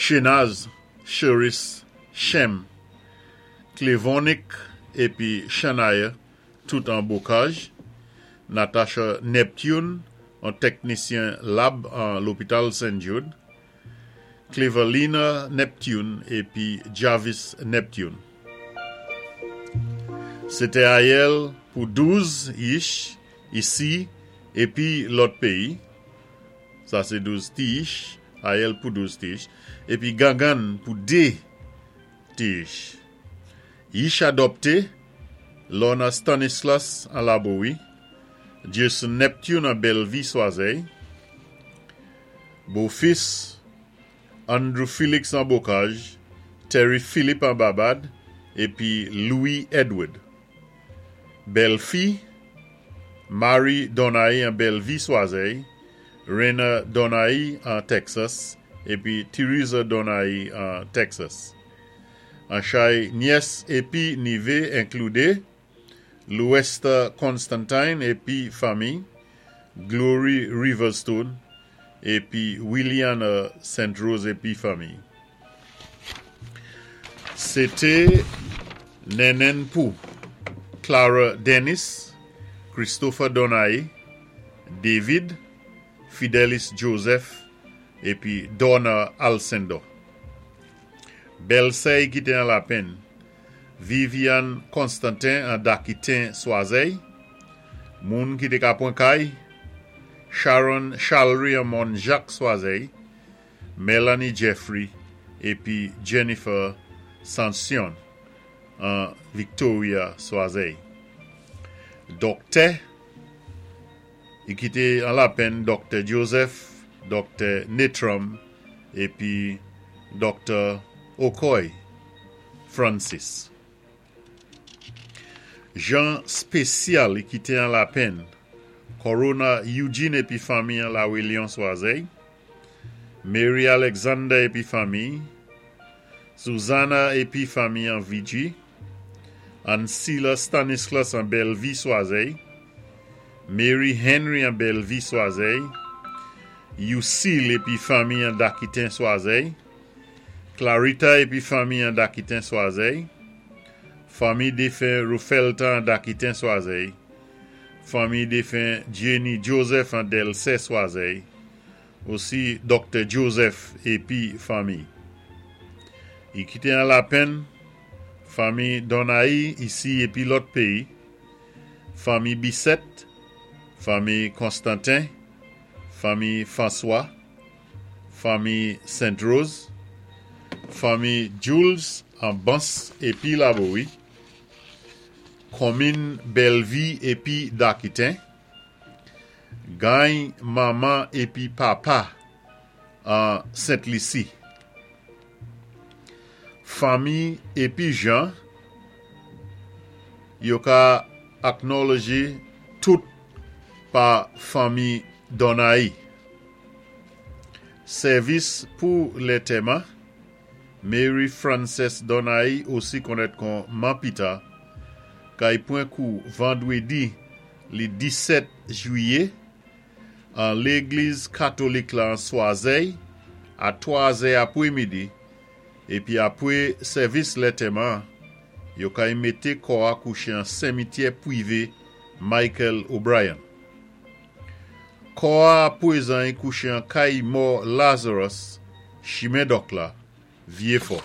Shenaz, Cheris, Shem, Clevonic épi Shania, tout an Bocage, Natasha Neptune, an tèknisyen lab an lopital St. Jude, Clevelina Neptune épi Jarvis Neptune. Sé té ayèl pou 12 yich isi épi lòt péyi, sa sé 12 ti yich, ayèl pou 12 ti yich, épi gangann pou 2 ti yich. Yich adòpté, Lorna Stanislas an Labowi, Jason Neptune an Bellevue Swazèy, Bofis, Andrew Felix an Bocage, Terry Philippe an Babad, épi Louis Edward. Bèlfi, Marie Donay an Bellevue Swazèy, Raina Donay an Texas, épi Theresa Donay an Texas. An chay nyès épi nivé inkloudé Louesta Constantine épi fanmi, Glory Riverstone épi Williana St. Rose épi fanmi. Sé té nènèn pou Clara Dennis, Christopher Donay, David, Fidelis Joseph épi Donna Alcindor. Bèlsèy ki té an Lapenn, Viviane Constantin an Dakiten Swazèy, moun ki té ka pwan kay, Sharon Chalry an Mòn Jak Swazèy, Melanie Jeffrey épi Jennifer Sansion an Victoria Swazèy. Dòktè i ki té an Lapenn Dòktè Joseph, Dòktè Netram épi Dòktè Okoy Francis. Jan spésyal i ki té an Lapenn, Corona Eugene épi fanmi an Lawelyon Swazèy, Mary Alexander épi fanmi, Susanna épi fanmi an Viji, Ansila Stanislas an Bellevue Swazèy, Mary Henry an Bellevue Swazèy, Lucille épi fanmi an Dakiten Swazèy, Clarita épi fanmi an Dakiten Swazèy, fanmi défen Rufelta an Dakiten Swazèy, fanmi défen Jenny Joseph an Delsè Swazèy, osi Dòktè Joseph épi fanmi. I ki té an Lapenn, fanmi Donay isi épi lòt péyi, fanmi Bisset, fanmi Constantin, fanmi François, fanmi Saint Rose, fanmi Jules an Bans épi Labowi, konmin Bellevue épi Dakiten, gany manman épi papa an Sent Lisi. Fanmi épi jan yo ka acknowledge tout pa fanmi Donay. Sèvis pou lètèman, Mary Frances Donay osi konnèt kon Man Pita, kay pwan kou vandwédi li 17 jwiyé an légliz katolik la an Swazèy a 3 zè apwémidi épi apwé sèvis lètèman an yo kay mété kò a kouché an senmityè pwivé Michael O'Brien. Kò a apwézan y kouché an kay mò Lazarus, chimen Dòk la, Vyéfò.